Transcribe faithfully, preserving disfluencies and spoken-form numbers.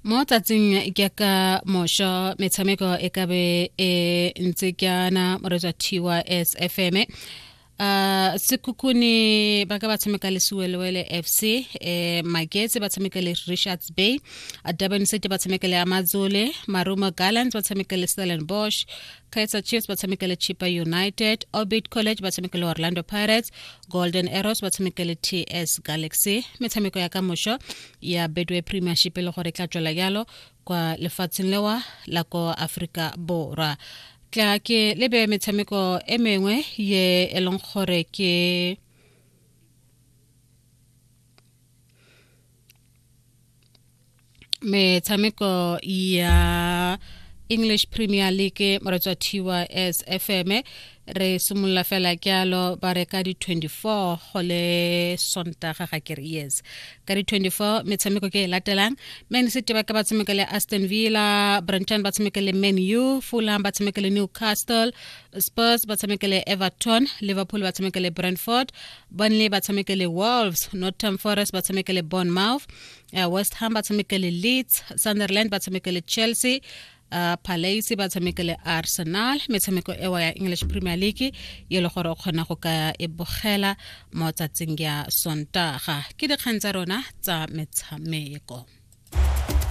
Mo tsatsing ke ka mosho metshameko e ka be e ntse kyana moreetsi wa T Y S F M. uh Sekhukhune ba ka ba tshameka le Siwelewele F C, eh Magetse ba tshameka le Richards Bay, Durban City ba tshameka le Amazulu, Marumo Gallants ba tshameka le Stellenbosch, Kaizer Chiefs ba tshameka le Chippa United, Orbit College ba tshameka le Orlando Pirates, Golden Arrows ba tshameka le T S Galaxy. Metshameko ya ka mosho ya Betway Premiership e le gore e tla tswela jalo kwa lefatsheng lewa la ko Aforika Borwa. Tla ke lebe metshameko e mengwe ye e leng gore ke metshameko ya English Premier League. Moreetsi wa T Y S F M, re simolola fela kyalo ba re ka di twenty-four go le Sontaga ga kere, yes, ka di twenty-four metshameko ke e latelang: Man City ba ka ba tshameka le Aston Villa, Brighton ba tshameka le Man U, Fulham ba tshameka le Newcastle, Spurs ba tshameka le Everton, Liverpool ba tshameka le Brentford, Burnley ba tshameka le Wolves, Nottingham Forest ba tshameka le Bournemouth, uh, West Ham ba tshameka le Leeds, Sunderland ba tshameka le Chelsea, uh, Palace ba tshameka le Arsenal. Metshameko ewa ya English Premier League ye le gore o kgona go ka e bogela mo tsatsing ya Sontaga. Ke dikgang tsa rona tsa metshameko.